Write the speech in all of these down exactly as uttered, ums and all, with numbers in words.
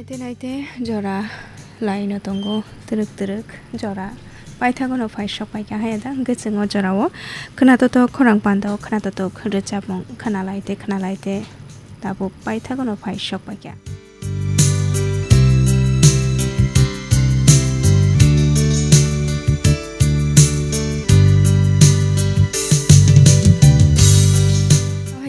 Naite naite jora laino tongo, twrwk twrwk jora paithagono phai sok paikha haya da, hwnkhe chwng o jorao khwnatotok khorang pandao khwnatotok rwchapmung khwnalaite khwnalaite tabuk paithagono phai sok paikha.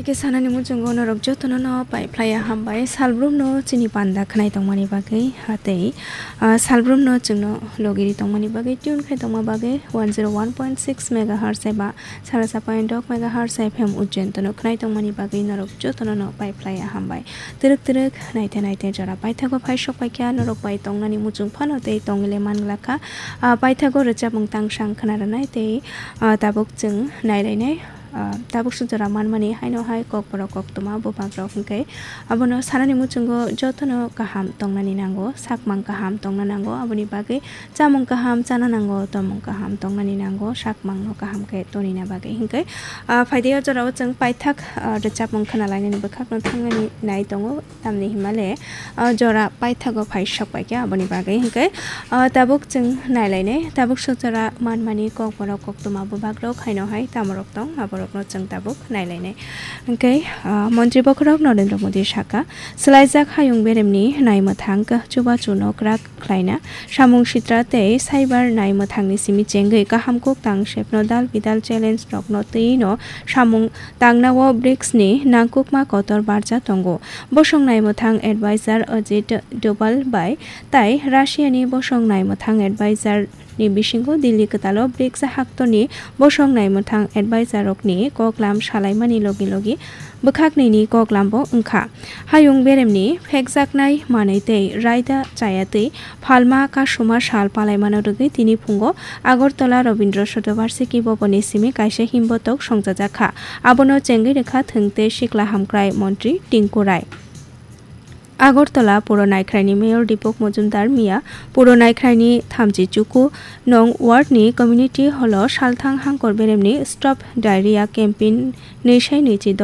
Haikhe sanani muchungo norok jotono no pai phlaiya hambai. Salbrumno chini panda khwnai tongmani bagwi, hatei, ah, salbrumno chwngno logiri tongmani bagwi, tune khai tongma bagwi one zero one point six megahertz eba sara sa point dok megahertz F M Ujjain tono khwnai tongmani bagwi norok jotono no pai phlaiya hambai. Twrwk twrwk naite naite jora paithago phai sok paikha, norok bai tongnani muchung phano tei tongwile manglakha. Ah, paithago rwchapmung tangsang khwna rwnai tei, ah, tabuk chwng nailainai. Ah, tabuk sujora manmani haino hai kokborok koktwma bubagrok hwnkhe abono sanani muchungo jotono kaham tongnani nango, sakmang kaham tongna nango, aboni bagwi chamung kaham chana nango, tomung kaham tongnani nango, sakmangno kaham khe tonina bagwi hwnkhe, ah, phaidi o jorao chwng paithak, ah, rwchapmung khwnalainani bwkhakno thangnani nai tongo. Tamni himale, ah, jora paithago phai sok paikha, aboni bagwi hwnkhe, ah, tabuk chwng nailainai, tabuk sujora manmani kokborok koktwma bubagrok haino hai tamorok tong, aborokno chwng tabuk nailainai. Hwnkhe, ah, Montri Bokhorok Narendra Modi saka, swlaijak hayung beremni naimwthang chubachu nokrak khlaina, samung sitra tei cyber naimwthangni simi chengwi kaham kuk tang sepno dal bidal challenge rokno twiwi no samung tangnao brics ni nangkukma kotor barja tongo. Bosong naimwthang advisor Ajit Doval bai tai Russia ni bosong naimwthang advisor ni bisingo Delhi kwtalo brics haktorni bosong naimwthang advisor rokni koklam salaimani logi logi bwkhaknini koklambo wngkha. Hayung beremni phekjaknai manwi tei raida chayatwi phalma kasuma sal palaimano rwgwi tini phungo Agartala Rabindra Shatovarshiki Bhavanni simi kaisa himbotok songchajakha. Abono chengwi rwkha thwng tei sikla hamkrai montri Tinku Rai. Agartala Puro Naikhraini Mayor Deepak Majumdar miya Puro Naikhraini thamchi chuku nong ward ni community hall o salthang hangkor beremni Stop Diarrhea campaign nwi sai nwi chi